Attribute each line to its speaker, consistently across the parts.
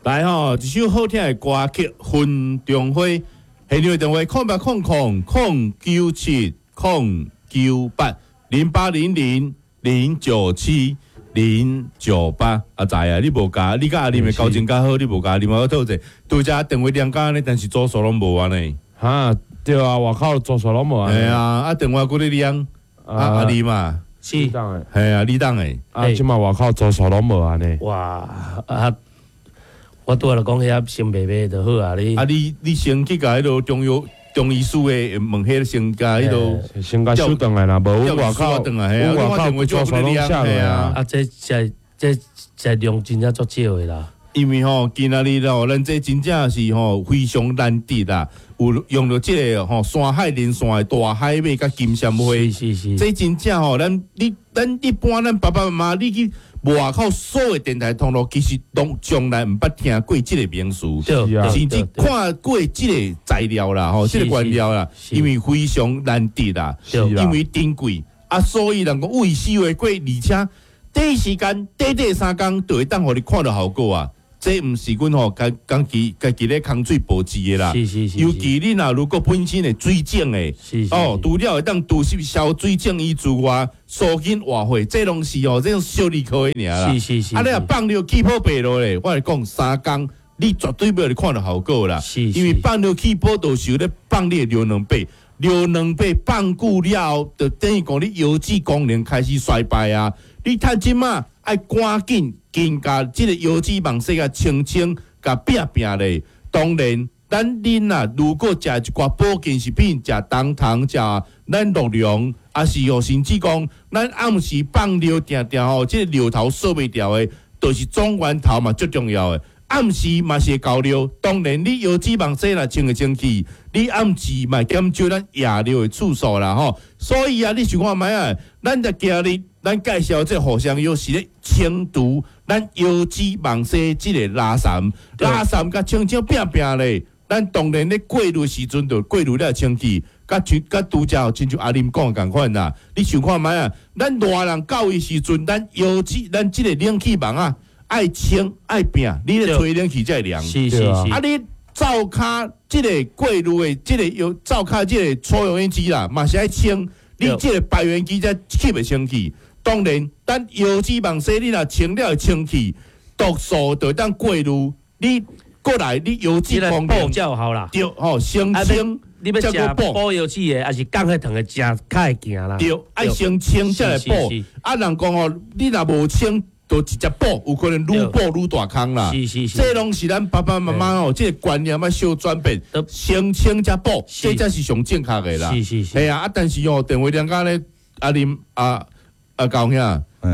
Speaker 1: 來吼，一首好聽的歌曲《雲中花》，現場的電話0800 097 098，0800 097 098。阿仔啊，你無共，你佮阿林的交情較好，你無共阿林我討者，拄才電話連甲呢，但是組數攏無按呢。
Speaker 2: 哈，對啊，外口組數攏無按。
Speaker 1: 係啊，啊電話閣咧連，啊阿林嘛，
Speaker 3: 是，
Speaker 1: 係啊，你當的。
Speaker 2: 啊，這馬外口組數攏無按呢。
Speaker 3: 哇，啊！我拄仔就講遐先賣賣就好啊！你
Speaker 1: 啊，你先去共彼落中藥中醫師的問彼先共彼落，
Speaker 2: 先共收轉來啦，無阮外口，阮外口組數攏寫落啊。
Speaker 3: 啊，這這這這量真正足少的啦。
Speaker 1: 因為吼，今仔日吼，咱這真正是吼非常難得啦，有用著這個吼山海連線的大海馬佮金蟬花，
Speaker 3: 是是是，
Speaker 1: 這真正吼，咱你咱一般咱爸爸媽媽，你去外口所有電台通路，其實攏從來毋捌聽過這個名詞，甚至看過這個材料啦，吼，這個原料啦，因為非常難得啦，因為珍貴啊，所以人講物以稀為貴，而且短時間短短3工就會當予你看著效果啊！這毋是阮吼家家己家己咧空嘴報紙的啦。
Speaker 3: 是是是。
Speaker 1: 尤其你若如果本身的水腫的，哦，除了會當除濕消水腫以之外，舒筋活血，這攏是哦，這種小兒科的爾啦。
Speaker 3: 是是是。
Speaker 1: 啊，你若放尿氣泡白落咧，我來講三工，你絕對袂予你看著效果啦。
Speaker 3: 是是。
Speaker 1: 因為放尿氣泡就是咧放你的尿囊白，尿囊白放久了後，就等於講你腰子功能開始衰敗啊。你趁這馬愛趕緊。緊共這個腰子網紗共清清，共拚拚咧。當然，咱恁啊，如果食一寡保健食品，食冬糖，食咱鹿茸，抑是吼，甚至講咱暗時放尿定定吼，這個尿頭掃袂掉的，就是總源頭嘛，足重要的。暗時嘛是會厚尿，當然你腰子網紗若清會清氣，你暗時嘛減少咱夜尿的次數啦吼。所以啊，你想看覓啊？咱就今日咱介紹這個互相藥是咧清除咱腰子網紗這個垃圾，垃圾共清清拚拚咧。咱當然咧過濾時陣就過濾了清氣，佮像佮拄才親像阿林講的仝款啦。你想看覓啊？咱大人到的時陣，咱腰子咱這個冷氣網啊，愛清愛拚，你咧吹冷氣才會涼。
Speaker 3: 是是是。
Speaker 1: 啊，你灶跤這個過濾的這個有灶跤這個抽油煙機啦，嘛是愛清，你這個排煙機才吸會清氣。當然，咱腰子網紗你若清了會清氣，毒素就會當過濾，你過來你腰子功能
Speaker 3: 才有效啦。
Speaker 1: 對吼，先清。
Speaker 3: 你欲食補腰子的，抑是降血糖的，食較會行啦。
Speaker 1: 對，愛先清才來補。啊，人講吼，你若無清，就直接補，有可能愈補愈大空啦。
Speaker 3: 是是是，
Speaker 1: 這攏是咱爸爸媽媽哦，這個觀念愛小轉變，先清才補，這才是上正確的啦。
Speaker 3: 是是是。
Speaker 1: 係啊，啊，但是哦，電話連共咧，阿林阿阿高兄，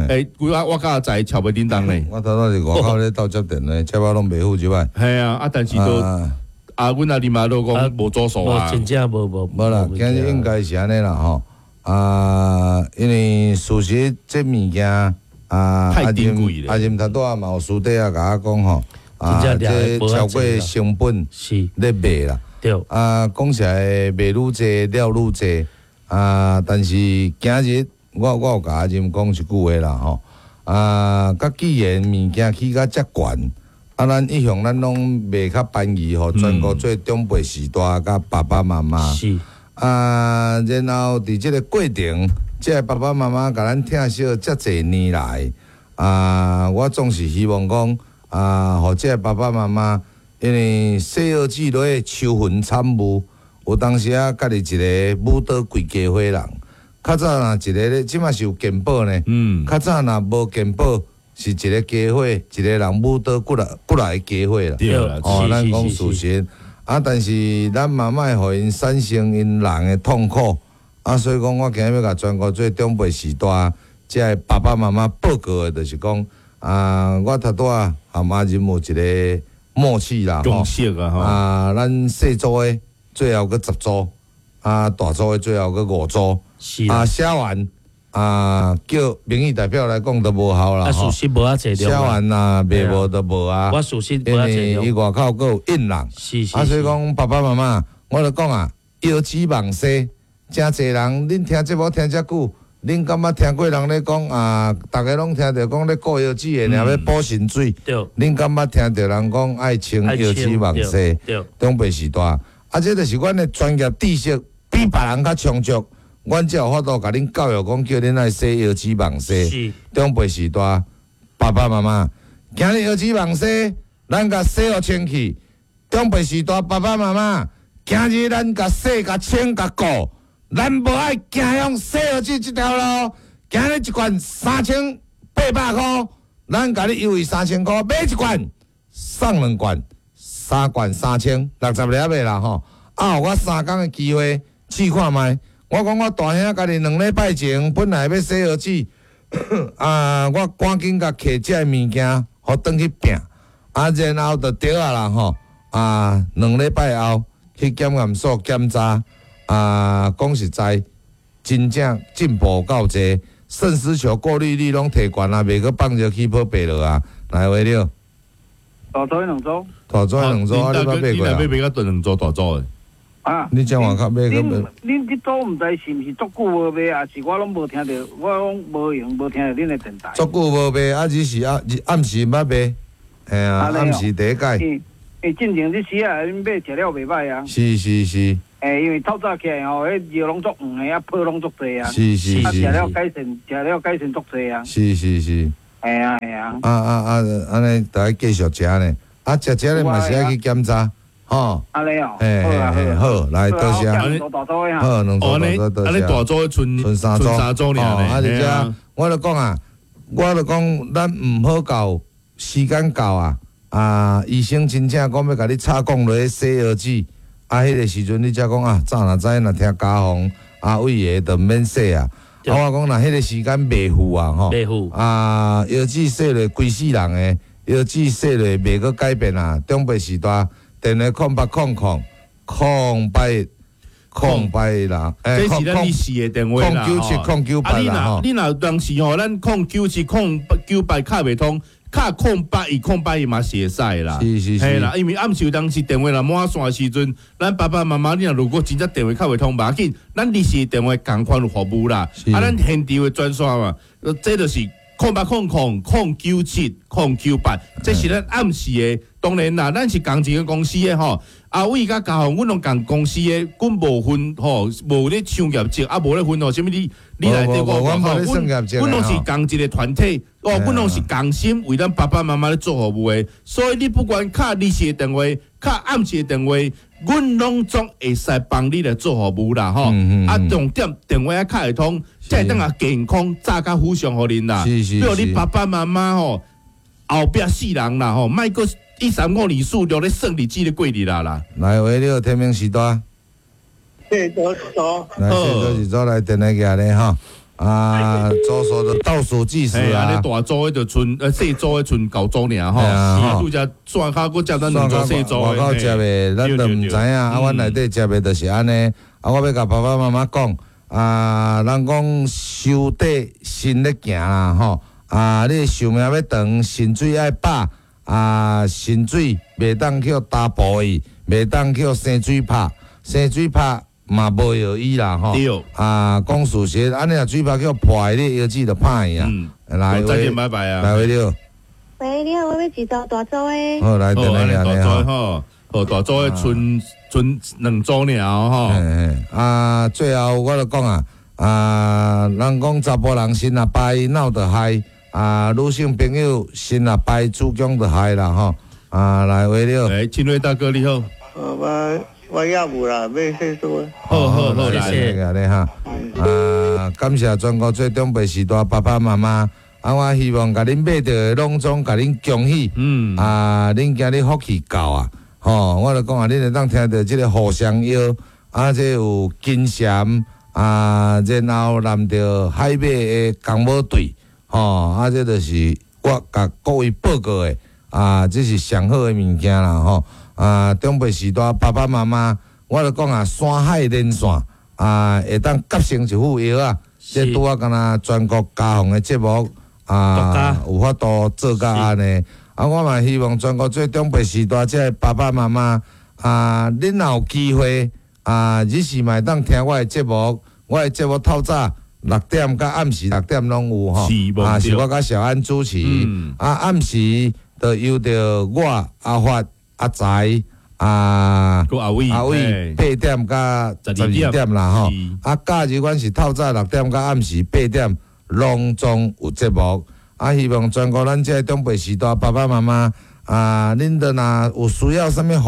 Speaker 1: 欸，我我佮阿仔敲袂叮當咧。
Speaker 4: 我頭拄是外口咧鬥接電話，接啊攏袂赴這擺。
Speaker 1: 係啊，啊，但是都啊，阮阿林嘛都講無組數啊。
Speaker 3: 真正無無。
Speaker 4: 無啦，今日應該是按呢啦吼。啊，因為事實這物件。啊，
Speaker 1: 太珍貴
Speaker 4: 啦！阿任頭拄仔嘛有私底下共我講吼，啊，這超過成本咧賣啦。
Speaker 3: 對。
Speaker 4: 啊，講實在賣愈濟，了愈濟。啊，但是今日我我有共阿任講一句話啦吼。啊，佮既然物件起甲遮懸，啊，咱一向咱攏賣較便宜，予全國做長輩序大佮爸爸媽媽。
Speaker 3: 是。
Speaker 4: 啊，然後佇這個過程。這个爸爸媽媽共咱疼惜遮濟年來，啊，我總是希望講，啊，予這个爸爸媽媽，因為西藥劑落去愁雲慘霧，有當時啊，家己一个舞倒規家伙人。較早若一个咧，這馬是有健保呢。較早若無健保，是一个家伙一个人舞倒幾來幾來個家伙啦。
Speaker 1: 對啦，
Speaker 4: 哦，咱講事實。啊，但是咱嘛莫予𪜶產生𪜶人的痛苦。啊，所以講，我今日欲共全國做長輩序大，這个爸爸媽媽報告的，就是講，啊，我頭拄仔和阿仁有一個默契啦，
Speaker 1: 共識啊，
Speaker 4: 啊，咱細組的最後閣10組，啊，大組的最後閣5組，啊，寫完啊，叫民意代表來講都無效啦，
Speaker 3: 啊，事實無遐濟
Speaker 4: 寫完啊，賣無就無啊，
Speaker 3: 我事實
Speaker 4: 因為伊外口閣有印人，
Speaker 3: 是是，
Speaker 4: 啊，所以講爸爸媽媽，我就講啊，腰子網紗。誠濟人，恁聽節目聽遮久，恁敢捌聽過人咧講啊？逐家攏聽著講咧顧腰子的，爾欲補腎水。恁敢捌聽著人講愛清腰子網紗？長輩時代，啊，這就是阮的專業知識比別人較充足，阮才有法度共恁教育講，叫恁愛洗腰子網紗。長輩時代，爸爸媽媽，今日腰子網紗，咱共洗予清氣。長輩時代，爸爸媽媽，今日咱共洗、共清、共顧。咱無愛行向洗腰子這條路，今日一罐3800箍，咱共你優惠3000箍，買一罐送兩罐，三罐3060粒的啦吼。啊，予我3工的機會試看覓。我講我大兄家己2禮拜前本來欲洗腰子，啊，我趕緊共揢這个物件，予轉去拚，啊，然後就著啊啦吼，啊，2禮拜後去檢驗所檢查。啊，講實在，真正進步夠濟，腎絲球過濾率攏提懸啊，袂閣放熱氣泡白落啊，來話了。
Speaker 5: 大組兩組。
Speaker 4: 大組兩組，啊，你捌買過啊？
Speaker 1: 你買較兩組大組的。
Speaker 5: 啊。
Speaker 4: 你這外口買個？
Speaker 5: 恁這組毋知是毋是足久無賣，抑是我攏無聽著，我攏無閒無聽著恁的電台。
Speaker 4: 足久無賣，啊，只是暗暗時捌賣，嘿啊，暗時第一擺。
Speaker 5: 欸，進前這時啊，恁買食了袂䆀啊。
Speaker 4: 是是是。
Speaker 5: 欸，因為透早起來吼，彼尿攏足黃的，啊泡攏足濟啊。
Speaker 4: 是是是。
Speaker 5: 啊，食了改善，食了改善足濟啊。
Speaker 4: 是是是。
Speaker 5: 嘿啊嘿啊。
Speaker 4: 啊啊啊！按呢，著愛繼續食呢。啊，食食咧嘛是愛去檢查，吼。
Speaker 5: 按呢哦。
Speaker 4: 嘿嘿嘿，好，來多謝。好，兩組大組多謝。
Speaker 1: 按呢大組賰
Speaker 4: 賰三組。
Speaker 1: 三組爾
Speaker 4: 啊，而且我著講啊，我著講，咱毋好到時間到啊。啊！醫生真正講欲共你插管落去洗腰子，啊，彼個時陣你才講啊，早若知若聽家訪啊，偉爺就毋免洗啊。啊，我講若彼個時間袂赴啊，吼，啊，腰子洗落規世人的，腰子洗落袂閣改變啊。長輩時代，電話0800 081 081啦，
Speaker 1: 這是咱日時的電話啦，
Speaker 4: 097098
Speaker 1: 啊，你若你若當時吼，咱097098敲袂通。敲081081嘛是會使啦，
Speaker 4: 是是是，
Speaker 1: 嘿啦，因為暗時有當時電話若滿線的時陣，咱爸爸媽媽你若如果真正電話敲袂通，無要緊，咱臨時電話仝款有服務啦，啊，咱現場的專線嘛，這就是0800 097 098，這是咱暗時的。當然啦，咱是仝一个公司的吼，阿偉佮嘉宏，阮攏仝公司的，阮無分吼，無咧搶業績，啊無咧分吼，啥物你你來對我，阮阮攏是仝一个團體，哦，阮攏是仝心為咱爸爸媽媽咧做服務的，所以你不管敲日時的電話，敲暗時的電話，阮攏總會使幫你來做服務啦，吼。啊，重點電話愛敲會通，才會當共健康早較好上予恁啦。
Speaker 4: 是是。
Speaker 1: 比如你爸爸媽媽吼，後壁世人啦吼，莫閣一三五二四六咧算日子咧過日啦啦。
Speaker 4: 來，喂，你好，天明時代。
Speaker 6: 對，多多。
Speaker 4: 來，多是做來電來寄咧吼。啊，左數就倒數計時啊。
Speaker 1: 啊，你大組的就賰，細組的賰舊組爾吼。是，拄則線跤閣接咱兩組細組的。
Speaker 4: 外口接的，咱都毋知影。啊，阮內底接的就是按呢。啊，我欲共爸爸媽媽講，啊，人講收底身咧行啦吼。啊，你壽命欲長，腎水愛飽。啊，腎水袂當去焦步去，袂當去生水拍，生水拍嘛無藥醫啦吼。
Speaker 1: 對。
Speaker 4: 啊，講事實，按呢若水拍去破，你腰子就歹去啊。來，
Speaker 1: 再見，拜拜啊。
Speaker 4: 來，喂，你好。
Speaker 7: 喂，你好，我欲一組大組的。
Speaker 4: 好，來，電來
Speaker 1: 大組吼，好，大組的賰賰兩組爾吼。
Speaker 4: 啊，最後我就講啊，啊，人講查埔人身若歹，腦就害。啊，女性朋友身若歹，子宮就害啦吼。啊，來，喂，你好。
Speaker 1: 欸，親愛大哥你好。
Speaker 6: 我我也無啦，欲洗做。
Speaker 1: 好好好，
Speaker 4: 謝謝你哈。啊，感謝全國做長輩時代爸爸媽媽。啊，我希望共恁買著的攏總共恁恭喜。嗯。啊，恁今日福氣夠啊！吼，我就講啊，恁會當聽著這个互相藥，啊，這有金蟬啊，然後攬著海馬的工母隊。吼，啊，這就是我共各位報告的，啊，這是上好的物件啦，吼，啊，長輩時代爸爸媽媽，我就講啊，山海連線，啊，會當結成一副藥啊，這拄仔敢若全國家訪的節目，啊，有法度做甲按呢，啊，我嘛希望全國做長輩時代這个爸爸媽媽，啊，恁若有機會，啊，日時嘛會當聽我的節目，我的節目透早。六點佮暗時六點攏有吼。
Speaker 1: 是無對。
Speaker 4: 啊，是我佮小安主持。啊，暗時就由著我阿發、阿財、啊
Speaker 1: 閣阿偉，
Speaker 4: 阿偉8點佮12點啦吼。啊，假日阮是透早六點佮暗時八點，攏總有節目。啊，希望全國咱這個長輩時代爸爸媽媽啊，恁都若有需要啥物服